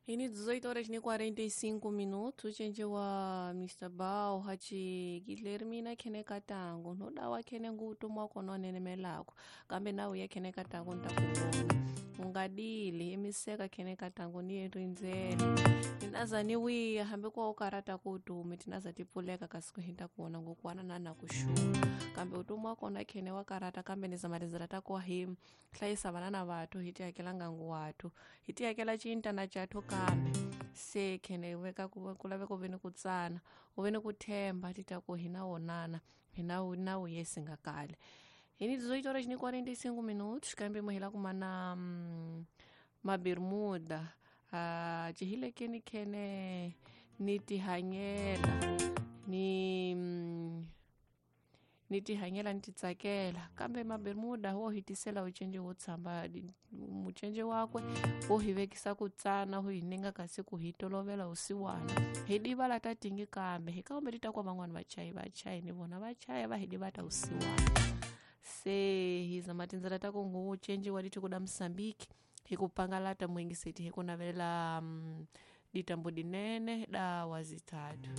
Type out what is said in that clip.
Ini 18 horas ni 45 minutos cenje wa Mr. Bao hachi Guilhermina khene katango nodawa khene ngutumwa kona nenemelako kambe nawe ya khene katango ntakuvona ungadili imiseka khene katango ni rindzele tinaza ni wiya hambi kwa ukarata ku utume tinaza tipfuleka kasi ku hinta kuona ngokwana na na kuxuwa kambe utume wa kona khene wa karata kambe ni zama tindzela ta ku hi hlayisa vana na vathu hi ti hakela ngangu wathu hi ti hakela cintana chathu kambe se khene veka ku laveka u ve ni ku tsana u ve ni ku themba ti ta ku hi na wonana hi na na yesi nga kale hi ni 18 horas ni 45 minutos kambe mo hi la kuma na mabermuda cihile keni khene ni tihanyela ni ni tihanyela ni titsakela kambe mabermuda wo hi tisela ucenje wo tshamba mucenje wakwe wo hi vekisa ku tsana wu hi ninga kasi ku hi tolovela usiwana hi divala ta tingi kambe hi kambe ti ta kwa van'wani vachayi vachayi ni vona vachaya va hi divata usiwana se hi zama tindzela ta ku ngu cenjiwa leti kuda msambiki hi ku pangalata muingiseti hi ku navelela ditambo dinene da wazitatu.